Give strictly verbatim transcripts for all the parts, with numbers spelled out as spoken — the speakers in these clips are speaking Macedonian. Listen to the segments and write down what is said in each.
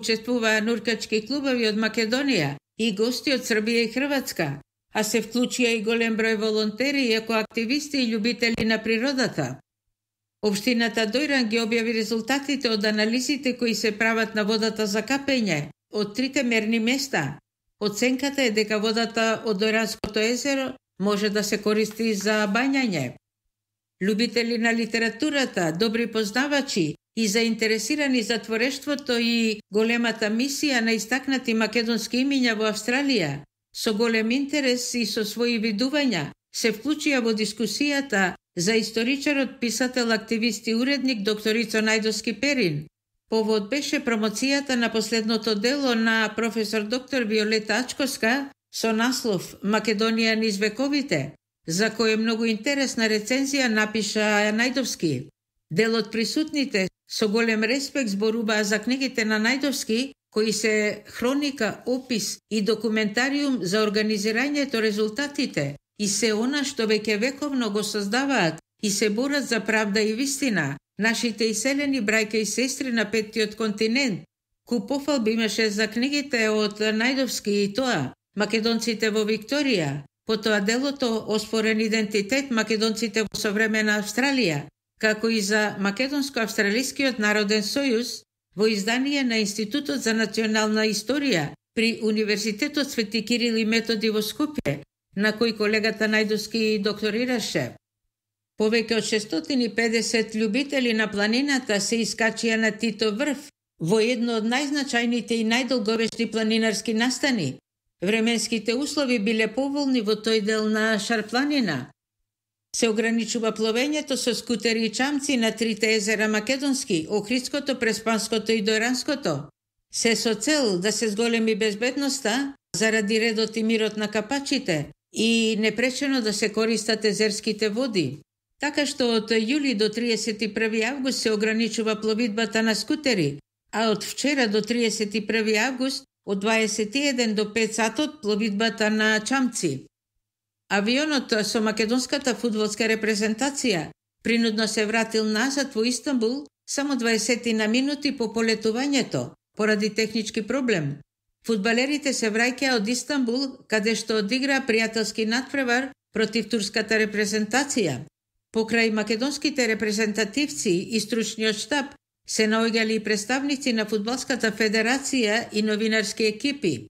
Учествуваа нуркачки клубови од Македонија и гости од Србија и Хрватска, а се вклучија и голем број волонтери, екоактивисти и љубители на природата. Општината Дојран ги објави резултатите од анализите кои се прават на водата за капење од трите мерни места. Оценката е дека водата од Дојранското езеро може да се користи за бањање. Љубители на литературата, добри познавачи и заинтересирани за творештвото и големата мисија на истакнати македонски имиња во Австралија, со голем интерес и со своји видувања, се вклучија во дискусијата за историчарот, писател, активист и уредник докторица Најдовски Перин. Повод беше промоцијата на последното дело на професор доктор Виолета Ачковска со наслов Македонија низ вековите, за кој многу интересна рецензија напиша Најдовски. Дел од присутните со голем респект зборуваа за книгите на Најдовски, кои се хроника, опис и документариум за организирањето резултатите и се она што веќе вековно го создаваат и се борат за правда и вистина, нашите иселени брајка и сестри на петтиот континент. Куп пофалби имаше за книгите од Најдовски и тоа Македонците во Викторија, потоа делото Оспорен идентитет македонците во современа Австралија, како и за Македонско-австралискиот народен сојуз во издание на Институтот за национална историја при Универзитетот Свети Кирил и Методи во Скопје, на кој колегата Најдовски докторираше. Повеќе од шестстотини и педесет љубители на планината се искачија на Тито врв во едно од најзначајните и најдолговечни планинарски настани. Временските услови биле поволни во тој дел на Шарпланина. Се ограничува пловењето со скутери и чамци на трите езера македонски, Охридското, Преспанското и Дојранското. Се со цел да се зголеми безбедноста заради редот и мирот на капачите и непречено да се користат езерските води. Така што од јули до триесет и први август се ограничува пловидбата на скутери, а од вчера до триесет и први август од дваесет и еден до пет сатот пловидбата на чамци. Авионот со македонската фудбалска репрезентација принудно се вратил назад во Истанбул само дваесет на минути по полетувањето, поради технички проблем. Фудбалерите се враќаа од Истанбул, каде што одигра пријателски надпревар против турската репрезентација. Покрај македонските репрезентативци и стручниот штаб се наоѓали и представници на Фудбалската федерација и новинарски екипи.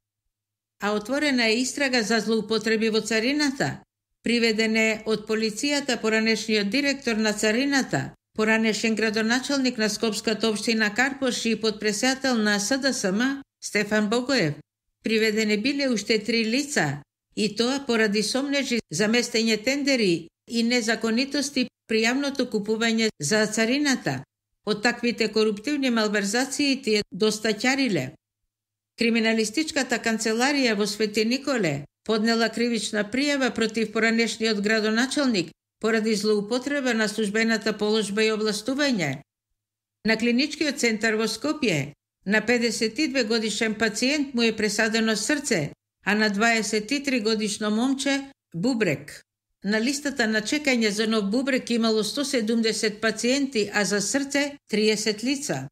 А отворена е истрага за злоупотреби во царината. Приведен е од полицијата поранешниот директор на царината, поранешен градоначалник на Скопската општина Карпош и подпредседател на С Д С М Стефан Богоев. Приведени биле уште три лица, и тоа поради сомнежи за местење тендери и незаконитости при јавното купување за царината. Од таквите коруптивни малверзации тие доста ќариле. Криминалистичката канцеларија во Свети Николе поднела кривична пријава против поранешниот градоначалник поради злоупотреба на службената положба и овластување. На клиничкиот центар во Скопје на педесет и две годишен пациент му е пресадено срце, а на дваесет и три годишно момче бубрек. На листата на чекање за нов бубрек имало сто седумдесет пациенти, а за срце триесет лица.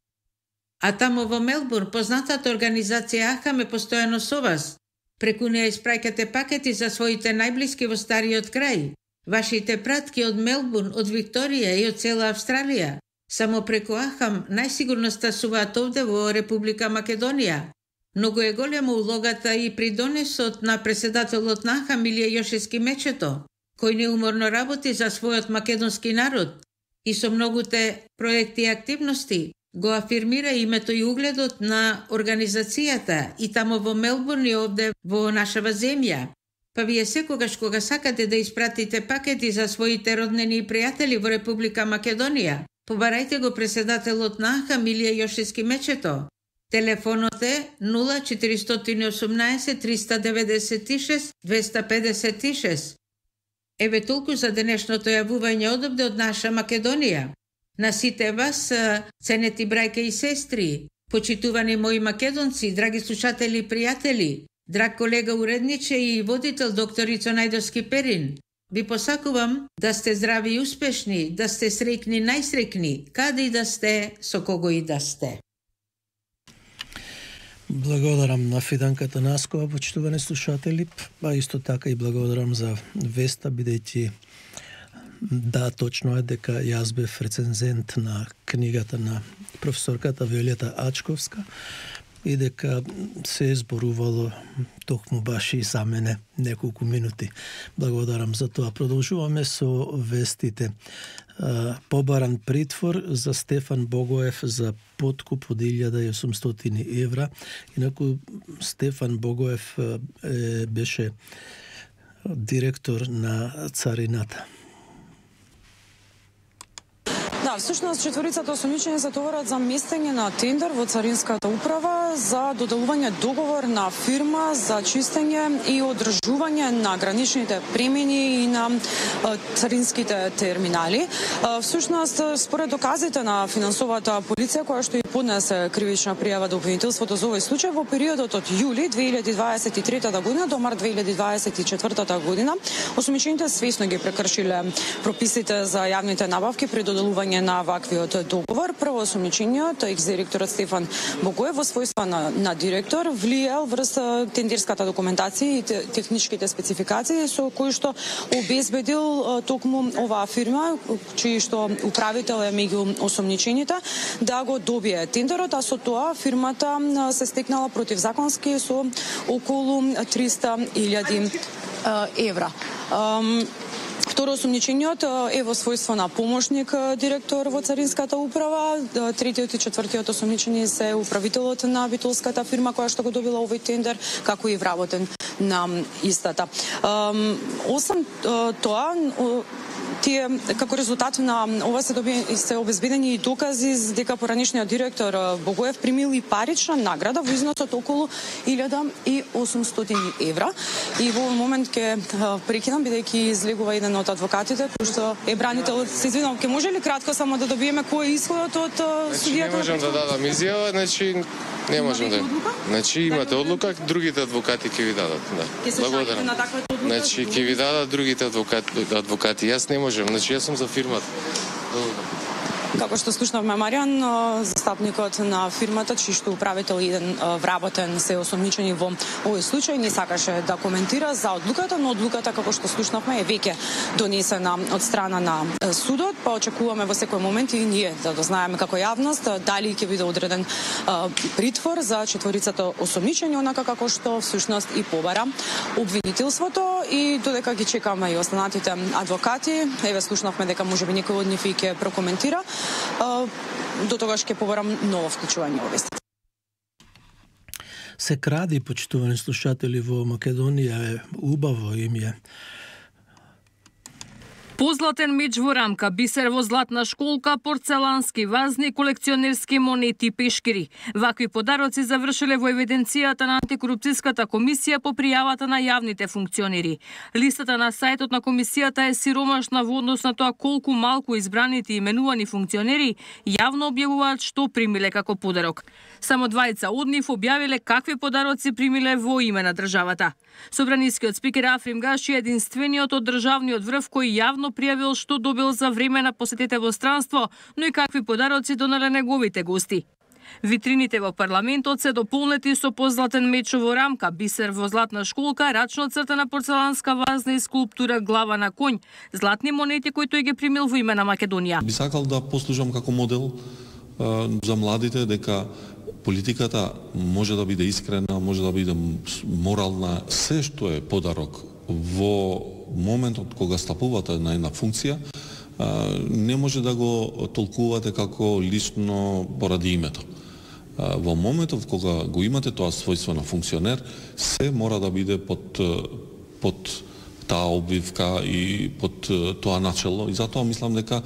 А тамо во Мелбурн познатата организација Ахам е постојано со вас. Преку неја испраќате пакети за своите најблиски во стариот крај. Вашите пратки од Мелбурн, од Викторија и од цела Австралија. Само преку Ахам најсигурно стасуваат овде во Република Македонија. Многу е голема улогата и придонесот на председателот на Ахам Илија Јошевски Мечето, кој неуморно работи за својот македонски народ и со многуте проекти и активности го афирмира името и угледот на организацијата и тамо во Мелбурн и овде во нашава земја. Па вие секогаш кога сакате да испратите пакети за своите роднини и пријатели во Република Македонија, побарајте го председателот на Ахам Илија Јошевски Мечето. Телефонот е нула четиристотини и осумнаесет триста деветдесет и шест двеста педесет и шест. Еве толку за денешното јавување одобде од наша Македонија. На сите вас, ценети брајка и сестри, почитувани мои македонци, драги слушатели и пријатели, драг колега уредниче и водител докторица Најдовски Перин, ви посакувам да сте здрави и успешни, да сте среќни, најсреќни, каде и да сте, со кого и да сте. Благодарам на Фиданката Наскова, почитувани слушатели, а исто така и благодарам за веста, бидејќи да, точно е дека јас бев рецензент на книгата на професорката Виолета Ачковска и дека се зборувало токму баш и за мене неколку минути. Благодарам за тоа. Продолжуваме со вестите. Побаран притвор за Стефан Богоев за подкуп од илјада и осумстотини евра. Инаку Стефан Богоев е, беше директор на царината. Да, всушност четворицата осумничени се товарат за местење на тендер во Царинската управа за доделување договор на фирма за чистење и одржување на граничните премини и на царинските терминали. Всушност, според доказите на финансовата полиција, која што и поднесе кривична пријава до обвинителството за овој случај, во периодот од јули две илјади дваесет и трета година до март две илјади дваесет и четвртата година, осумничените свесно ги прекршиле прописите за јавните набавки при доделување на ваквиот договор. Прво осумничениот, екс-директорот Стефан Богоев во својства на, на директор влиел врз тендерската документација и техничките спецификации со кои што обезбедил токму оваа фирма, чиј што управител е меѓу осумничените, да го добие тендерот, а со тоа фирмата се стекнала противзаконски со околу триста илјади евра. Второ осумничениот е во својство на помошник директор во Царинската управа. Третиот и четвртиот осумничени се управителот на битолската фирма која што го добила овој тендер, како и вработен на истата. Осам тоа, тие како резултат на ова се доби се обезбедени и докази дека поранешниот директор Богоев примил и парична награда во износ од околу илјада и осумстотини евра. И во овој момент ќе прекинам бидејќи излегува еден од адвокатите кој што е бранител. Се извинувам, ќе може ли кратко само да добиеме кој е исходот од судијата? Не можам да дадам изјава, значи не можам да. Значи имате одлука, другите адвокати ќе ви дадат, да. Благодарам. Значи ќе ви дадат другите адвокати, адвокати. Јас не можам, значи јас сум за фирмата. Како што слушнавме Маријан, застапникот на фирмата, чиј што управител еден вработен се осумничени во овој случај, не сакаше да коментира за одлуката, но одлуката, како што слушнавме, е веќе донесена од страна на судот, па очекуваме во секој момент и ние да дознаеме како јавност дали ќе биде одреден притвор за четворицата осумничени, онака како што всушност и побара обвинителството, и додека ги чекаме и останатите адвокати, еве слушнавме дека можеби некој од нив и ќе прокоментира. До тогаш ќе побарам ново вклучување во вестите. Се кради, почитувани слушатели, во Македонија е убаво им е. Позлатен меч во рамка, бисер во златна школка, порцелански вазни, колекционерски монети и пешкири. Вакви подароци завршиле во евиденцијата на антикорупцијската комисија по пријавата на јавните функционери. Листата на сајтот на комисијата е сиромашна во однос на тоа колку малку избраните именувани функционери јавно објавуваат што примиле како подарок. Само двајца од нив објавиле какви подароци примиле во име на државата. Собранискиот спикер Африм Гаши е единствениот од државниот врв кој јавно пријавил што добил за време на посетите во странство, но и какви подароци донале неговите гости. Витрините во парламентот се дополнети со позлатен меч во рамка, бисер во златна школка, рачно цртана порцеланска вазна и скулптура глава на коњ, златни монети кои тој ги примил во име на Македонија. Би сакал да послужам како модел а, за младите дека политиката може да биде искрена, може да биде морална, се што е подарок во моментот кога стапувате на една функција, не може да го толкувате како лично поради името. Во моментот кога го имате тоа својство на функционер, се мора да биде под, под таа обвивка и под тоа начело. И затоа мислам дека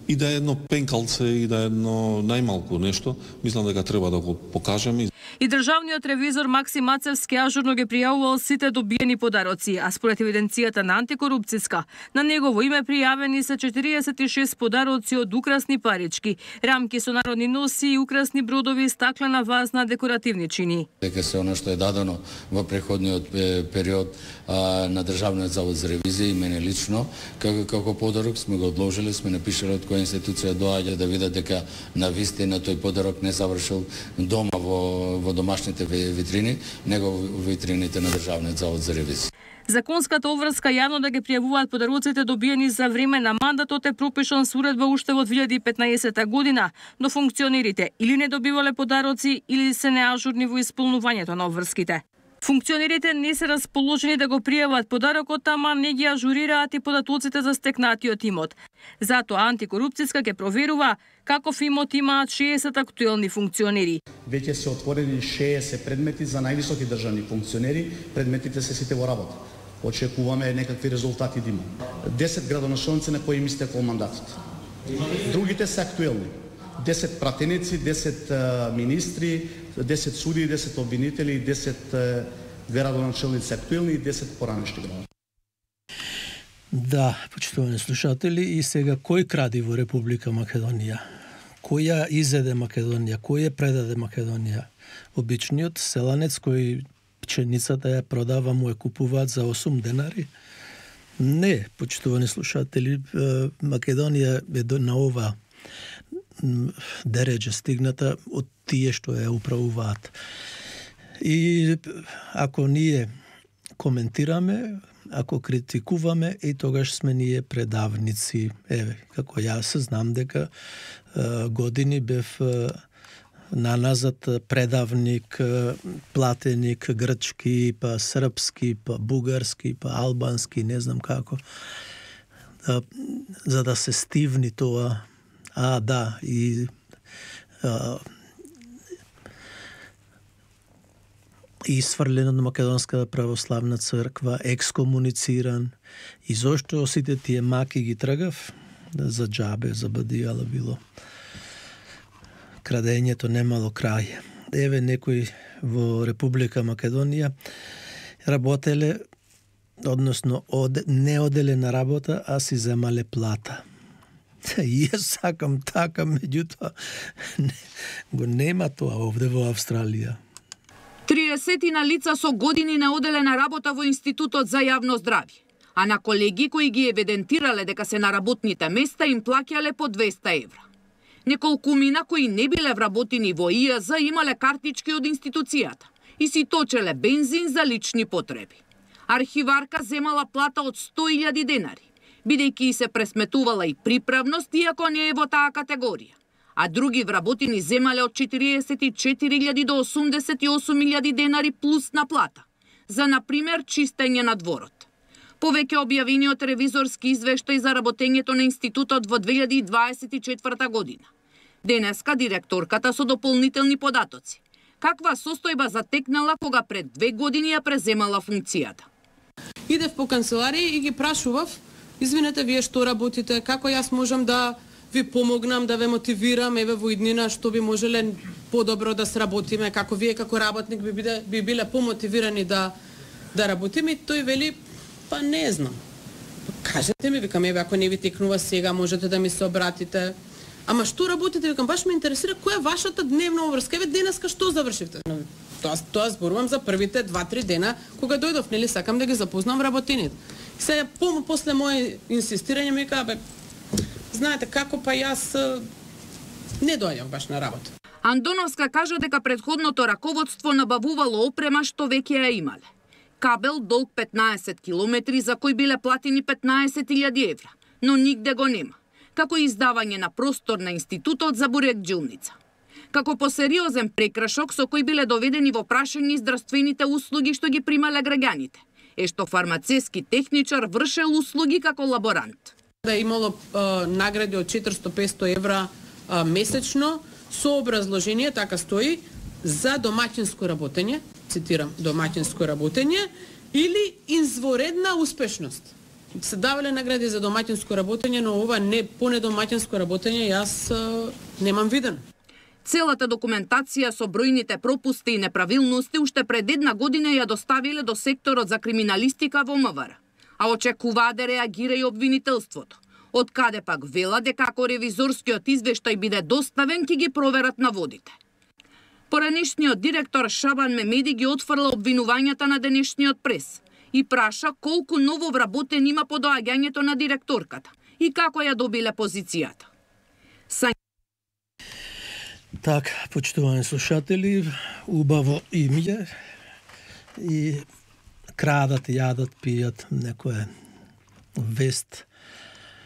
и да е едно пенкалце, и да е едно најмалку нешто, мислам дека треба да го покажеме. И државниот ревизор Максим Мацевски ажурно ги пријавувал сите добиени подароци, а според евиденцијата на антикорупцијска, на негово име пријавени се четириесет и шест подароци од украсни парички, рамки со народни носи, украсни бродови, стаклена вазна, декоративни чини. Дека се она што е дадено во преходниот период а, на Државниот завод за ревизија и мене лично, како, како подарок сме го одложили, сме напишале од која некоја институција доаѓа да видат дека на вистина тој подарок не завршил дома во, во домашните витрини, него во витрините на Државниот завод за ревизија. Законската обврска јавно да ги пријавуваат подароците добиени за време на мандатот е пропишан со уредба уште во две илјади и петнаесета година, но функционерите или не добивале подароци или се неажурни во исполнувањето на обврските. Функционерите не се расположени да го пријават подарокот, ама не ги ажурираат и податоците за стекнатиот имот. Затоа антикорупцијска ќе проверува каков имот имаат шеесет актуелни функционери. Веќе се отворени шеесет предмети за највисоки државни функционери, предметите се сите во работа. Очекуваме некакви резултати да има. десет градоначалници на кои им истекол мандатот. Другите се актуелни. десет пратеници, десет министри, десет суди, десет обвинители, десет градоначалници актуелни и десет поранешни градоначалници. Да, почитувани слушатели, и сега кој кради во Република Македонија? Кој ја изеде Македонија? Кој ја предаде Македонија? Обичниот селанец кој пченицата ја продава, му ја купуваат за осум денари? Не, почитувани слушатели, Македонија е на ова дереđe стигната од тие што ја управуваат. И ако ние коментираме, ако критикуваме, и тогаш сме ние предавници. Еве, како јас знам дека е, години бев е, наназад предавник, е, платеник, грчки, па српски, па бугарски, па албански, не знам како. Да, за да се стивни тоа. А, да, и а, и сврлен од Македонската православна црква, екскомунициран, и зошто сите тие маки ги тргав? За џабе, за бадијала било. Крадењето немало крај. Еве некои во Република Македонија работеле, односно од, не оделе на работа, а си земале плата. И јас сакам така, меѓутоа го нема тоа овде во Австралија. триесетина лица со години не оделе на работа во Институтот за јавно здравје, а на колеги кои ги евидентирале дека се на работните места им плаќале по двеста евра. Неколкумина кои не биле вработени во И Ја З имале картички од институцијата и си точеле бензин за лични потреби. Архиварка земала плата од сто илјади денари, бидејќи се пресметувала и приправност, иако не е во таа категорија. А други вработени земале од четириесет и четири илјади до осумдесет и осум илјади денари плюс на плата, за, например, чистење на дворот. Повеќе објавениот ревизорски извештај за работењето на институтот во две илјади и дваесет и четврта година. Денеска директорката со дополнителни податоци. Каква состојба затекнала кога пред две години ја преземала функцијата? Идев по канцеларија и ги прашував: извинете, вие што работите, како јас можам да ви помогнам, да ве мотивирам, еве во иднина што би можеле подобро да сработиме, како вие како работник би биле, би биле помотивирани да да работиме. И тој вели: па не знам. Кажете ми, викам, еве ако не ви текнува сега, можете да ми се обратите. Ама што работите? Викам, баш ме интересира која е вашата дневна обврска. Еве денеска што завршивте? Тоа тоа зборувам за првите два-три дена кога дојдов, нели, сакам да ги запознам вработените. Се по после мое инсистирање ми кажа: бе, знаете како, па јас не доаѓав баш на работа. Андоновска кажа дека претходното раководство набавувало опрема што веќе ја имале. Кабел долг петнаесет километри за кој биле платени петнаесет илјади евра, но нигде го нема. Како издавање на простор на институтот за буреκджилница. Како посериозен прекрашок со кој биле доведени во прашање здравствените услуги што ги примале граѓаните, е што фармацевски техничар вршел услуги како лаборант. Да имало а, награди од четиристо-петсто евра а, месечно со образложение, така стои, за домаќинско работење, цитирам, домаќинско работење или изворедна успешност. Се давале награди за домаќинско работење, но ова не по недомаќинско работење јас а, немам видено. Целата документација со бројните пропусти и неправилности уште пред една година ја доставиле до секторот за криминалистика во М В Р, а очекуваат да реагира и обвинителството. Од каде пак вела дека ако ревизорскиот извештај биде доставен, ќе ги проверат наводите. Поранешниот директор Шабан Мемеди ги отфрла обвинувањата на денешниот прес и праша колку ново вработен има по доаѓањето на директорката и како ја добиле позицијата. Са... Так, почитувани слушатели, убаво имје и крадат, јадат, пијат некоја вест